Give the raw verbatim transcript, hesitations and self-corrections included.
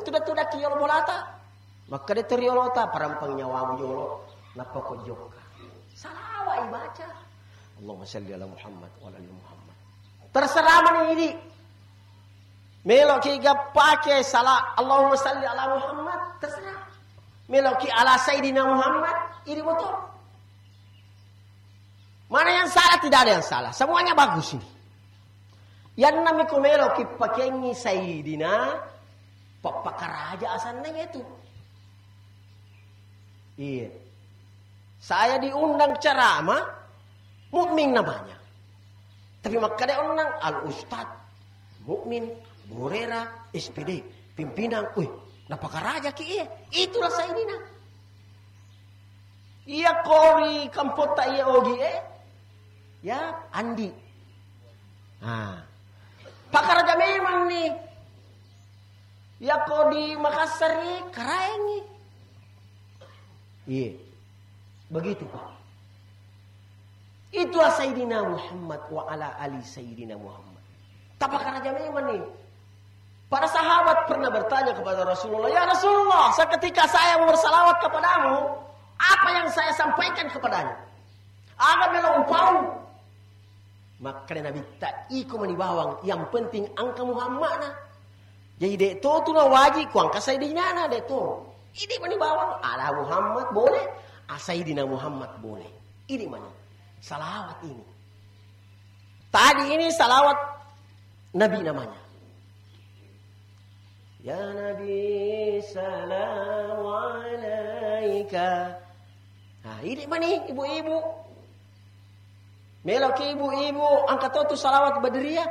Tuda-tudaki yolo bolata. Makkeda to riolota, parampang nyawamu yolo. Nappa ko jokka. Salawat ibaca. Allahumma salli ala Muhammad wa ala ali Muhammad. Terserah mani idi. Meloki ga pake sala Allahumma salli ala Muhammad, terserah. Meloki ala Sayyidina Muhammad, idi botol. Mana yang salah? Tidak ada yang salah. Semuanya bagus ini. Yang namiko meloki pakengi Sayyidina, pappakaraja asanna itu. Iya. Saya diundang ceramah, Mukmin namanya. Tapi makkeda onnang Al Ustad, Mukmin, Burera, S P D, pimpinan, wih, napakarajaki iya. Itulah Sayyidina. Iya kori kampotta iya ogi eh. Ya, Andi. Nah. Pakaraja memang nih. Iya ko di Makassar nih, karaengi. Iya. Begitu, Pak. Itulah Sayyidina Muhammad wa ala ali Sayyidina Muhammad. Tapakaraja memang nih. Para sahabat pernah bertanya kepada Rasulullah, "Ya Rasulullah, seketika saya mau bersalawat kepadamu, apa yang saya sampaikan kepadanya? Aga melo upau?" Makkeda Nabitta, "Iko mani bawang, yang penting engka Muhammadna." Jadi de to tu na wajib ku engka Sayyidina na, de to. Ini mani bawang, ala Muhammad boleh, a Sayyidina Muhammad boleh. Ini mani salawat ini. Tadi ini salawat Nabi namanya. Ya Nabi, salam alaika. Nah, ini mani ibu-ibu. Meloki ibu-ibu, angkat tu salawat Badriyah.